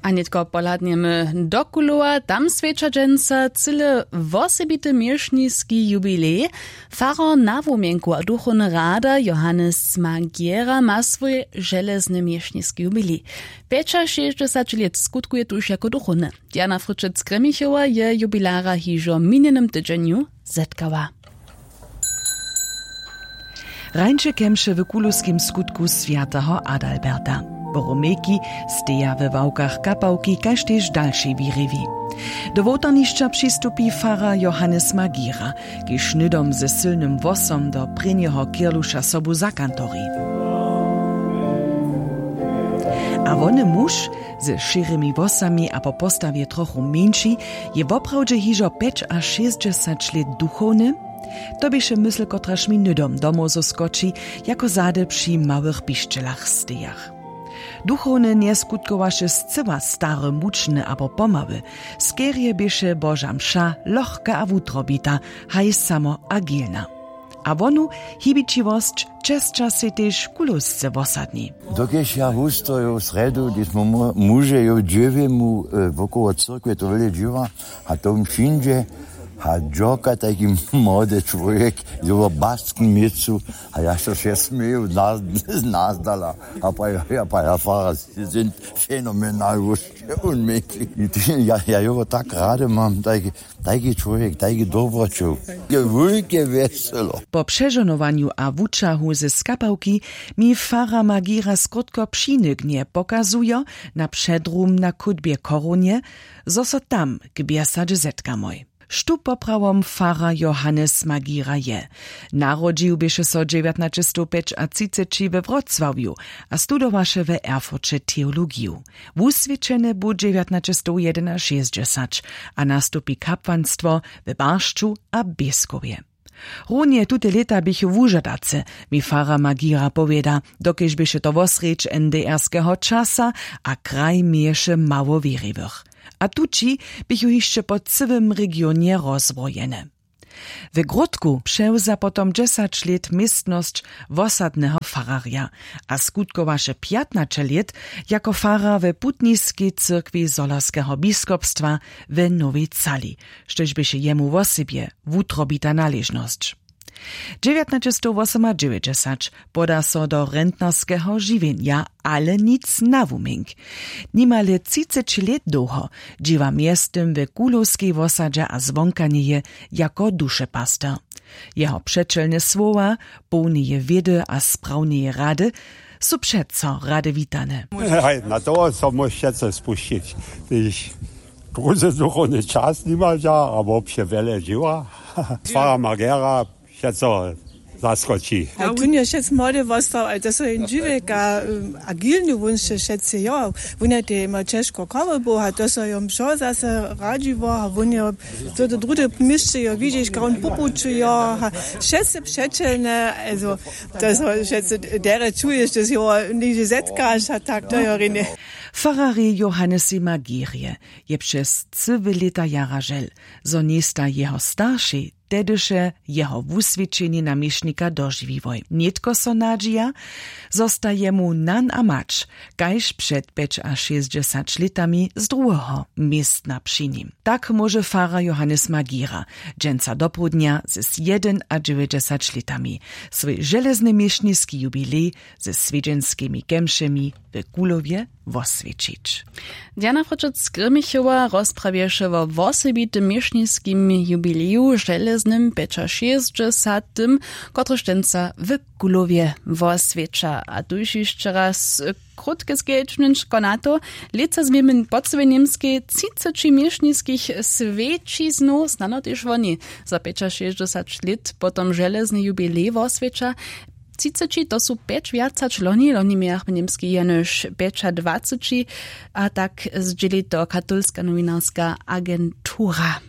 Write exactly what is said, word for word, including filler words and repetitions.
A nětko pohladnjemy do kulowa. Tam swjeća dźensa cyle wosebity měšniski jubilej. Farar na wumjenku a duchowny rada johannes magera ma swój železny měšniski jubilej. Pjećašěsćdźesać lět skutkuje tuž jako duchowny. Diana fryčec kremichowa je jubilara hižo w minjenym tydźenju zetkała. Rańše kemše w kulowskim skutku swjateho adalberta. Boromejki steja we ławkach kapałki kaž tež dalšej wěriwi. Do wołtarnišća přistupi farar johannes magira, kiž hnydom ze sylnym włosom do prěnjeho kirluša sobu zakantori. A wony muž ze šěrymi włosami a po postawje trochu mjeńši je woprawdźe hižo pjećašěsćdźesać lět duchowny. To běše mysl kotraž mi hnydom do mózow skoči, jako zady při małych pišćelach stejach. Duchowny njeskutkowaše scyła stary mučny abo pomały. Skerje běše boža mša lochka a wutrobita, haj samo agilna. A wonu hibićiwosć česća sej tež kulowsce włosadni. Dokelž ja wustoju w srjedu, hdyž mu- muže jo dźěwjemu wokoło cyrkwje to wjele dźěła, a to wšindźe a dźorka tajki młody čłowjek, jo w baskim měcu. A ja so wše směju nazdala. A pa ja pa ja fara sind fenomenal wóšće unmekli. Ja jo tak rady mam tajki, tajki čłowjek tajki dobroćow. Je wulke wjeselo. Po přežonowanju a wućahu ze skapałki mi fara magira skrótko přinignje pokazujo na předrum na chódbje chorunje, zo so tam k bjesadźe zetkamoj. Štó poprawom farar johannes magira je? Narodźił běše so dźewjatnaćestowpjećatřiceći we wrocławju a studowaše we erfurće teologiju. Wuswěćeny bu dźewjatnaćestowjedynašěsćdźesać a nastupi kapłanstwo we baršću a běskowje. Runje tute lěta běchu wužadace, mi farar magira powěda, dokelž běše to wosrjedź n d r skeho časa a kraj měješe mało wěriwych. A tući běchu hišće po cyłym regionje rozwrojene. We gródku přewza potom dźesać lět městnosć wosadneho fararja a skutkowaše pjatnaće lět jako farar we putniskej cyrkwi zhorjelskeho biskopstwa we nowej cali, štož běše jemu wosebje wutrobita naležnosć. Dźewjatnaćestowwosomadźewjećdźesać poda so do rentnerskeho žiwjenja, ale nic na wumjenk. Nimale třiceći lět dołho dźěła mjeztym we kulowskej wosadźe a zwonka njeje jako dušepaster. Jeho přećelne słowa, połneje wědy a sprawneje rady, su přeco rady witane. Haj, na toho so móžeće spušćić, hdyž druzy duchowny čas nimaža abo přewjele dźěła. Fara magera přeco zaskoči. A wón je wšec młody wostał, ale to so jen dźiwjek a agilny wón sće wšetcy jo. Wón je tej mał ćežko chory był a to so jom wšo zase radźiło a wón je to do drude měsće jo widźiš kaun pupuću jo a wšetcy přećelne, also to so wšetcy derje čuješ, to so jo niždźe zetkaš a tak to jo rjenje. Fararjej johannesej magirje je přez cyłe lěta jara žel, zo njejsta jeho staršej tehdyše jeho wuswědčenje na měšnika dožiwiłoj. Nětko so nadźija, zo sta jemu nan a mać kaž před pjećašěsćdźesać lětami z druheho městna při nim. Tak móže farar johannes magira dźensa dopołdnja z jedynadźewjećdźesać lětami swój železny měšniski jubilej ze swjedźenskimi kemšemi w kulowje woswjećić. Diana fročec z grimichowa rozprawješe wo wosebitym měšniskim jubileju železnym pjećašěsćdźesatym, kotryž dźensa w kulowje woswjeća. A tuž hišće raz krótke skedźbnjenčko na to. Lětsa změmy po cyłej němskej třiceći měšniskich swjećiznow, snano tež woni za pjećašěsćdźesać lět potom železny jubilej woswjeća. Třiceći to su pjeć wjac hač loni loni mějach w němskej jenož pjećadwaceći. A tak zdźěli to katolska nowinarska agentura.